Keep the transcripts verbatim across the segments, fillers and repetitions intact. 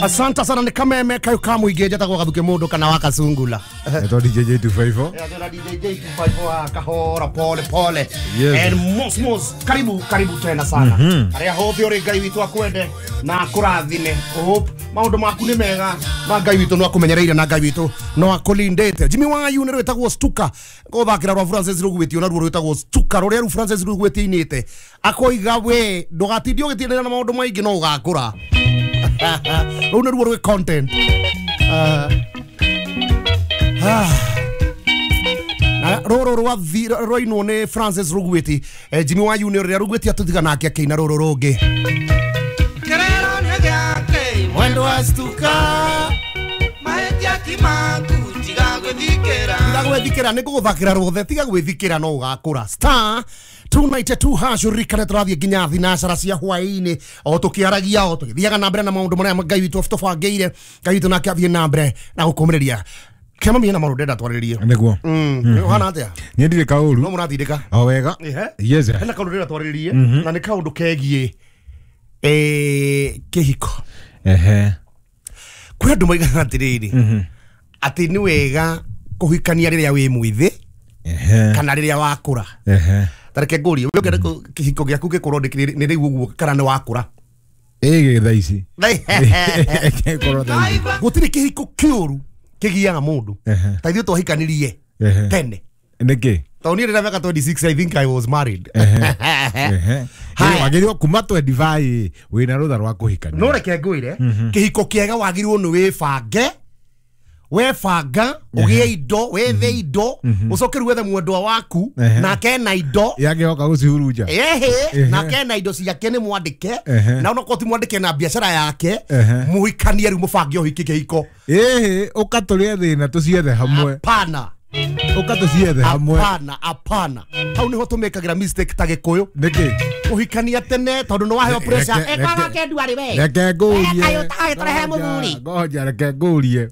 Asante sana ni kameme kayo kamuingi njatagwo gathuke mundu kana wakasungula. Eto D J J two five four. Yeah, D J J two five four kahora pole pole. Yes. And mos mos karibu karibu tena sana. Aria hothe uri Ngai witu akwende na akurathime. Hope maundu maku ni mega na Ngai witu no akumenyereire na Ngai witu no akulindite. Jimmy Wayu ni rwitagwo Stuka. Gothakira rwa Francis Rugwiti na ruo rwitagwo Stuka ruria ru Francis Rugwiti inite. Akoiga we ndugatindie ugitindanira na maundu maingi no ugakura. Rũu nĩruo rwĩ content. Na rũrũ rwathi rwainwo nĩ Francis Rugwiti. Jimmy Wayu nĩ ũrĩa Rugwiti atũtiga nake akĩina rũrũ rũngĩ. Mwendo wa Stuka tiga gwĩthikĩra nĩ ngũgũthakĩra rwothe tiga gwĩthikĩra no ũgakũra. Star two ninety-two hash urikane tũrathiĩ nginya thinacara cia hwaĩ-inĩ o tũkĩaragia o tũgĩthiaga na mbere na maũndũ marĩa Ngai witũ tũbangĩire. Ngai witũ nake athiĩ na mbere na gũkũmĩrĩria. Kĩama mĩena maũndũ ndĩrenda twarĩrĩrie. Nĩguo. Ũhana atĩa? Niĩ ndirĩ kaũru. No mũratindĩka? O wega. Yes. Hena kaũndũ ndĩrenda twarĩrĩrie na nĩ kaũndũ kegiĩ eh kĩhiko. Ehe. Kwĩ andũ moigaga atĩrĩrĩ atĩ nĩ wega kũhikania rĩrĩa wĩ mwĩthĩ kana rĩrĩa wakũra. Ehe. Tareke ngũrie we ũngĩenda kĩhiko gĩaku gĩkorwo nĩ rĩu ũguo kana nĩ wakũra? Ĩ thaa ici. Gĩkorwo thaa ici. Gũtirĩ kĩhiko kĩũru kĩgiaga mũndũ. Ta ithuĩ twahikanirie tene. Nĩkĩ? Tondũ niĩ rĩrĩa mĩaka twenty-six I think I was married. Ehe. Wagĩrĩirwo kuma twenty-five wĩna rũtha rwa kũhikania. No reke ngwĩre kĩhiko kĩega wagĩrĩirwo nĩ wĩbange. Webanga ugie indo wethe indo ucoke rĩu wethe mwendwa waku nake na indo yangĩhoka gũcihurunja ehe nake na indo ciake nĩ mwandĩke na onokorwo ti mwandĩke na biacara yake mũhikanie rĩu mũbange ũhiki kĩhiko. Ĩhĩ ũka tũrĩe thĩna tũciethe hamwe. Hapana. Ũka tũciethe hamwe. Hapana hapana. Hau nĩho tũmĩkagĩra mistake ta Gĩkũyũ. Nĩkĩ? Ũhikania tene tondũ nĩ waheo pressure. Ĩkaga kĩndũ arĩ we. Reke ngũrie. Kaĩ ũtagĩtũrehe mũthuri. Ngoja reke ngũrie.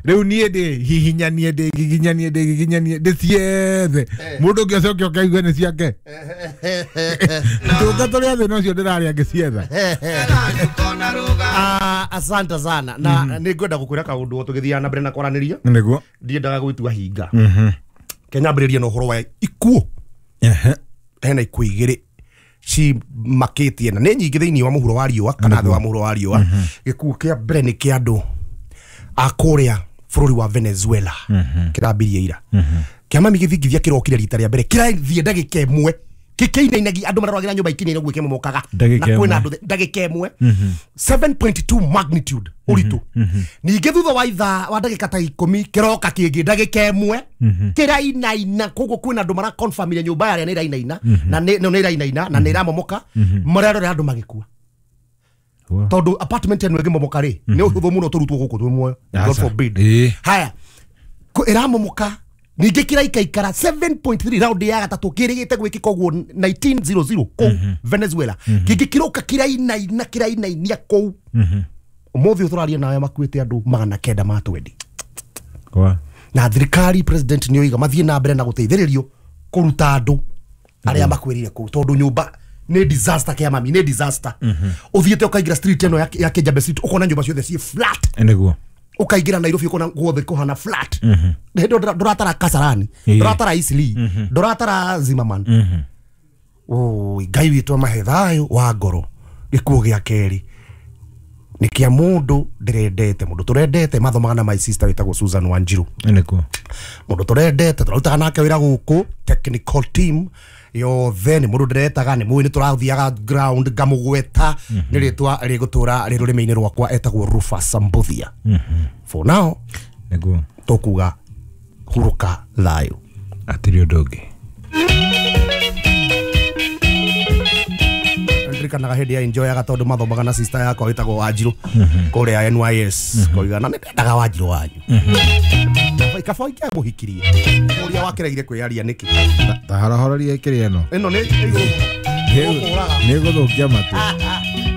Rĩu niĩ ndĩ hihinyanie ndĩ giginyanie ndĩ giginyanie ndĩciethe mũndũ ũngĩ acoke oke aigue nĩ ciake. Tũka tũrĩa thĩna ũcio ndĩrarĩa ngĩcietha. Asante sana na nĩ ngwenda gũkwĩra kaũndũ o tũgĩthiaga na mbere na kwaranĩria. Nĩguo. Ndiendaga gwĩtua hinga. Kenyambĩrĩrie na ũhoro wa ikuũ. Hena ikuũ igĩrĩ cimakĩtie na nĩ nyingĩ thĩinĩ wa mũhuro wa riũa kana thĩ wa mũhuro wa riũa. Gĩkuũ kĩa mbere nĩ kĩa andũ a kũrĩa bũrũri wa Venezuela kĩrambirie ira. Kĩama gĩthingithia kĩrokire rita rĩa mbere kĩrathiĩ ndagĩka ĩmwe kĩkĩinainagia andũ mararwagĩra nyũmba ikĩinaina ũguo kĩmomokaga na kwĩna andũ ndagĩka ĩmwe seven point two magnitude ũritũ. Ningĩ thutha wa ithaa wa ndagĩka ta ikũmi kĩroka kĩngĩ ndagĩka ĩmwe kĩrainaina koguo kwĩna andũ maraconfirmire nyũmba yarĩa nĩ ĩrainaina na nĩ ĩrainaina na nĩ ĩramomoka mararora andũ magĩkua. Tondũ apartment ĩno ĩngĩmomoka rĩ nĩ ũhũthũ mũno tũrutwo gũkũ twĩ muoyo. God forbid. Haya ĩramomoka ningĩ kĩraikaikara seven point three round ya gatatũ kĩrĩgĩte gwĩkĩka ũguo nineteen zero zero kũu Venezuela. Kĩngĩ kĩroka kĩrainaina kĩrainainia kũu. Ũmũthĩ ũyũ tũraria nawe makuĩte andũ magana kenda ma twendi. Na thirikari president nĩ oiga mathiĩ na mbere na gũteithĩrĩrio kũruta andũ arĩa makuĩrĩire kũu tondũ nyũmba nĩ disaster kĩa mami nĩ disaster. Ũthiĩte ũkaingĩra street ĩno ya Kijabe Street ũkona nyũmba ciothe ciĩ flat. Nĩguo. Ũkaingĩra Nairobi ũkona guothe kũhana flat. Ndũratara Kasarani, ndũratara Eastleigh, ndũratara Zimmerman. Oi Ngai witũ amahe thayũ wa ngoro. Gĩkuũ gĩa kerĩ nĩ kĩa mũndũ ndĩrendete mũndũ tũrendete mathomaga na my sister wĩtagwo Susan Wanjiru. Nĩguo. Mũndũ tũrendete tũrarutaga nake wĩra gũkũ technical team yothe nĩ mũndũ ndĩretaga nĩ mũĩ nĩ tũrathiaga ground ngamũgweta nĩ rĩtwa rĩgũtũra rĩ rũrĩmĩ-inĩ rwakwa etagwo Rufus Mbuthia. For now nĩguo tũkuga hurũka thayũ. Hatirĩ ũndũ ũngĩ. Ndirikanaga hĩndĩ ya enjoyaga tondũ mathomaga na sister yakwa wĩtagwo Wanjiru kũrĩa N Y S koiga na nĩndendaga Wanjiru wanyu. Kaba ingĩamũhikirie ũrĩa wakĩregire kwĩyaria nĩkĩ? Ta horohororia ĩkĩrĩ ĩno ĩno nĩ igũrũ nĩ gũthũkia matũ.